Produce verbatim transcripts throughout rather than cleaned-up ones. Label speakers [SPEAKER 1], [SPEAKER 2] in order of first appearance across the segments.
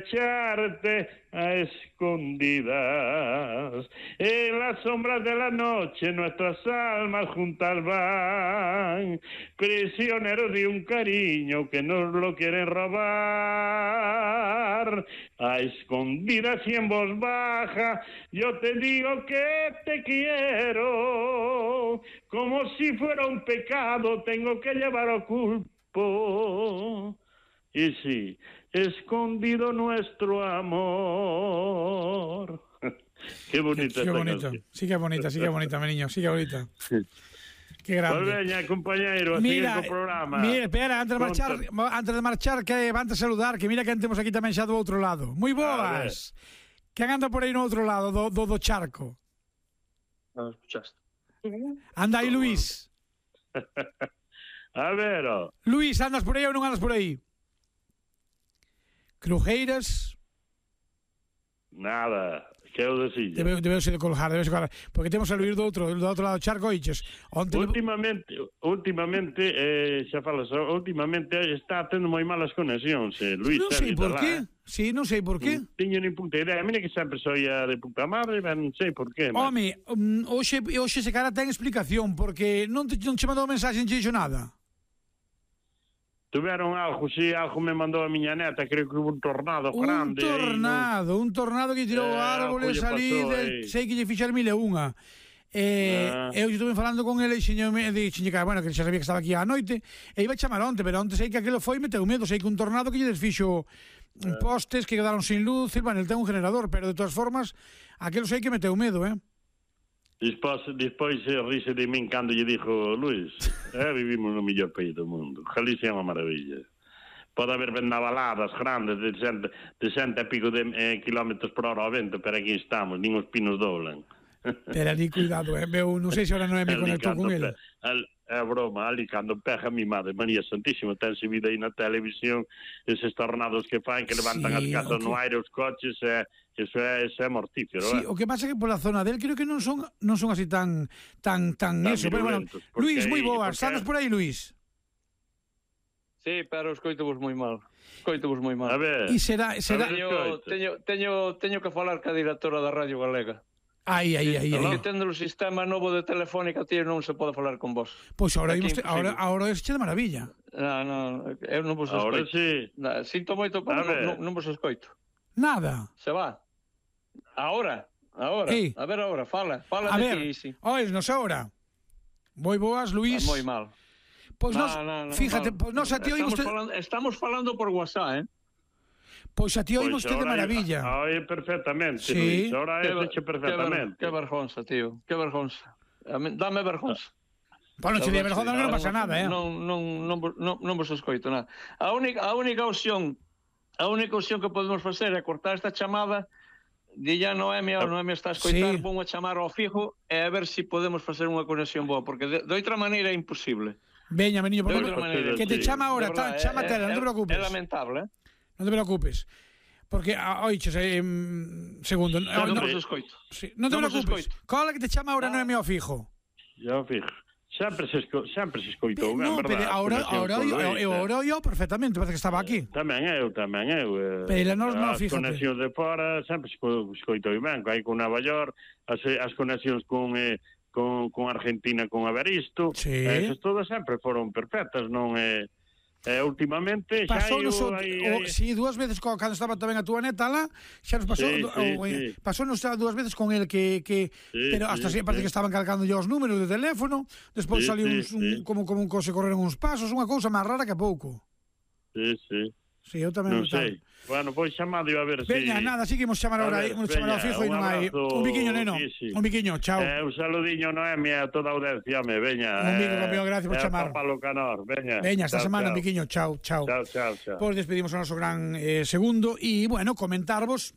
[SPEAKER 1] echarte a escondidas. En las sombras de la noche nuestras almas juntas van, prisioneros de un cariño que nos lo quieren robar. A escondidas y en voz baja yo te digo que te quiero, como si fuera un pecado tengo que llevar oculto. Y sí, escondido nuestro amor. Qué bonita.
[SPEAKER 2] Qué, qué bonito. Sí que é bonita, sí que é bonita, mi niño, sí que é bonita. Qué grande.
[SPEAKER 1] Pues veña, compañeiro, a seguir co programa.
[SPEAKER 2] Mira, espera, antes de marchar, antes de marchar que van a saludar, que mira que temos aquí tamén xa do outro lado. Moi boas. Que anda por aí no outro lado do, do, do charco?
[SPEAKER 3] Non escuchaste.
[SPEAKER 2] Anda aí, Luís.
[SPEAKER 1] A ver, oh.
[SPEAKER 2] Luís, andas por aí ou non andas por aí? Crujeiras?
[SPEAKER 1] Nada, que eu decilla.
[SPEAKER 2] Debe, debeu ser de colgar, debe ser de colgar. Porque temos a Luís do outro, do outro lado do charco, iches. Onte
[SPEAKER 1] últimamente, le... últimamente, eh, xa falas, últimamente está tendo moi malas conexións, eh, Luís.
[SPEAKER 2] Non sei por qué. Sí, non sei por qué.
[SPEAKER 1] Tiño nin puta idea. Mira que sempre soia de puta madre, non sei por qué.
[SPEAKER 2] Home, um, hoxe, hoxe se cara ten explicación, porque non te, non te mandou mensaxe, non te dixo nada.
[SPEAKER 1] Tuveron algo, si, algo me mandou a miña neta, creo que hubo un tornado
[SPEAKER 2] un
[SPEAKER 1] grande.
[SPEAKER 2] Un tornado, aí, un tornado que tirou eh, árboles ali, de, sei que lle fixar mil e unha. Eh, ah. Eu estuve falando con ele e xeñome, dixenlle que, bueno, que xa sabía que estaba aquí á noite, e iba a chamar onte, pero onte sei que aquilo foi, meteu medo, sei que un tornado que lle desfixo eh. postes que quedaron sin luz, e, bueno, ele ten un generador, pero de todas formas, aquilo sei que meteu medo, eh.
[SPEAKER 1] Despois, despois rise de min cando lle dixo Luís, eh, vivimos no mellor país do mundo, Galicia é unha maravilla. Pode haber vendavaladas grandes de cento, de cento e pico de eh, kilómetros por hora ao vento, pero aquí estamos, nin os pinos doblan.
[SPEAKER 2] Pero ali, cuidado, eh, meu, non sei se ahora non é me conectou con ele.
[SPEAKER 1] É broma, ali cando pega mi madre, María Santísima, tense vida aí na televisión, eses tornados que fan, que levantan sí, as casas okay. no aire, os coches, e... Eso é, eso é mortífero,
[SPEAKER 2] sí,
[SPEAKER 1] eh?
[SPEAKER 2] O que pasa é que pola zona del creo que non son non son así tan tan tan, tan eso, pero bueno, Luís, moi boas, estás por aí, Luís?
[SPEAKER 3] Sí, pero escoito-vos moi mal. Escoito-vos moi mal.
[SPEAKER 1] A ver.
[SPEAKER 2] E será será
[SPEAKER 3] teño, teño teño teño que falar ca directora da Radio Galega.
[SPEAKER 2] Ai, ai, ai, ai.
[SPEAKER 3] Que tendo o sistema novo de telefónica, tío, non se pode falar con vos.
[SPEAKER 2] Pois agora imos te, agora agora é de maravilla.
[SPEAKER 3] Non, non, eu non vos escoito.
[SPEAKER 1] Agora sí.
[SPEAKER 3] Nah, sinto moito, pero non, non vos escoito.
[SPEAKER 2] Nada.
[SPEAKER 3] Se va. Ahora, ahora, Ei. a ver ahora, fala, fala
[SPEAKER 2] a
[SPEAKER 3] de
[SPEAKER 2] ver,
[SPEAKER 3] ti, sí.
[SPEAKER 2] Oes, nos ahora. Moi boas, Luís.
[SPEAKER 3] Moi mal.
[SPEAKER 2] Pois
[SPEAKER 3] no,
[SPEAKER 2] nos,
[SPEAKER 3] no, no,
[SPEAKER 2] fíjate,
[SPEAKER 3] no.
[SPEAKER 2] pois nos a ti oímos
[SPEAKER 3] te... falando, estamos falando por WhatsApp, eh?
[SPEAKER 2] Pois a ti oímos pues de maravilla.
[SPEAKER 1] Oye, perfectamente,
[SPEAKER 2] sí.
[SPEAKER 1] Luís, ahora é hecho perfectamente.
[SPEAKER 3] Que, ver, que vergonza, tío, que vergonza. Dame vergonza.
[SPEAKER 2] Pois non se di vergonza, non pasa nada, eh?
[SPEAKER 3] Non, non, non, non, non vos escoito nada. A única, a única opción, a única opción que podemos facer é cortar esta chamada. Dilla Noemi, a Noemi está a escoitar, sí. Vou a chamar ao fijo e a ver se si podemos facer unha conexión boa, porque de, de outra maneira é imposible.
[SPEAKER 2] Veña, meniño, por maneira, que te sí. chama agora, tá, chama tela, non te preocupes.
[SPEAKER 3] É lamentable, eh?
[SPEAKER 2] Non te preocupes. Porque, oiches, eh, segundo...
[SPEAKER 3] Non vos escoito.
[SPEAKER 2] Sí, non te no preocupes. Cola que te chama agora ah. Noemi ao fijo.
[SPEAKER 1] Ao fijo. Sempre se, esco, sempre se escoitou,
[SPEAKER 2] no,
[SPEAKER 1] é verdade.
[SPEAKER 2] Ahora, ahora, eu ahora eu perfectamente, parece que estaba aquí.
[SPEAKER 1] Tamén eu, tamén eu.
[SPEAKER 2] Pero nós non, fíjate.
[SPEAKER 1] As conexións de fora sempre se escoitou ben, aí con Nova York, as, as conexións con, eh, con, con Argentina, con Averisto,
[SPEAKER 2] sí.
[SPEAKER 1] Esas todas sempre foron perfectas, non é... Eh, Eh, últimamente xa
[SPEAKER 2] pasou
[SPEAKER 1] eu,
[SPEAKER 2] so,
[SPEAKER 1] aí,
[SPEAKER 2] o,
[SPEAKER 1] aí.
[SPEAKER 2] Si, dúas veces co, cando estaba tamén a túa neta lá, xa nos pasou
[SPEAKER 1] sí,
[SPEAKER 2] o,
[SPEAKER 1] sí,
[SPEAKER 2] o,
[SPEAKER 1] sí.
[SPEAKER 2] pasou nos dúas veces con el que, que
[SPEAKER 1] sí,
[SPEAKER 2] pero hasta
[SPEAKER 1] sí,
[SPEAKER 2] sí, parece
[SPEAKER 1] sí.
[SPEAKER 2] que estaban calcando yo os números de teléfono, despois
[SPEAKER 1] sí,
[SPEAKER 2] saliu
[SPEAKER 1] sí,
[SPEAKER 2] uns,
[SPEAKER 1] sí.
[SPEAKER 2] un, como, como un se correron uns pasos, unha cousa máis rara que pouco.
[SPEAKER 1] Sí, sí.
[SPEAKER 2] Sí, eu tamén
[SPEAKER 1] non sei. Bueno, pois chamado a ver se...
[SPEAKER 2] Veña, si... nada, así que imos chamar ahora, imos chamar ao fijo e non hai... Un biquiño, neno, sí, sí. Un biquiño, chao.
[SPEAKER 1] Eh, un saludiño, Noemi, a toda a audiencia, me, veña.
[SPEAKER 2] Un bico, campeón, gracias por
[SPEAKER 1] eh,
[SPEAKER 2] chamar.
[SPEAKER 1] Palo Canor, veña.
[SPEAKER 2] Veña, esta
[SPEAKER 1] chao,
[SPEAKER 2] semana,
[SPEAKER 1] chao.
[SPEAKER 2] un biquiño, chao, chao.
[SPEAKER 1] Chao, chao, chao.
[SPEAKER 2] Pois despedimos o noso gran eh, segundo e, bueno, comentarvos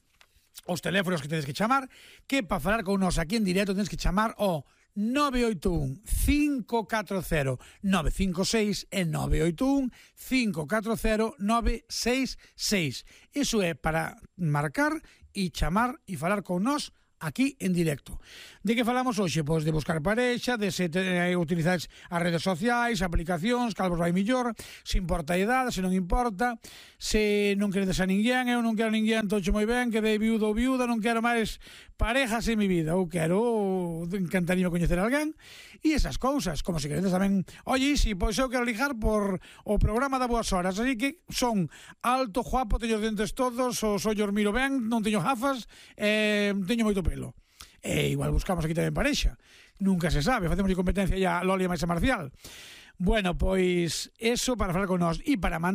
[SPEAKER 2] os teléfonos que tedes que chamar, que para falar con nos aquí en directo tedes que chamar o nove oito un, cinco catro cero, nove cinco seis e nove oito un, cinco catro cero, nove seis seis. Iso é para marcar e chamar e falar con nós aquí en directo. De que falamos hoxe? Pois de buscar parexa, de se te, utilizar as redes sociais, aplicacións, cal vos vai millor, se importa a idade, se non importa, se non queredes a ninguén, eu non quero a ninguén, tocho moi ben, que de viudo ou viuda, non quero máis parejas en mi vida, ou quero, encantaría coñecer a alguén, e esas cousas, como se queredes tamén, oye, si, pois eu quero ligar por o programa da Boas Horas, así que son alto, guapo, teño os dentes todos, os ollos miro ben, non teño gafas, eh, teño moito pelo. E igual buscamos aquí tamén parexa. Nunca se sabe, facemos de competencia ya Lolia máis a Marcial. Bueno, pois eso para falar con nós e para mandar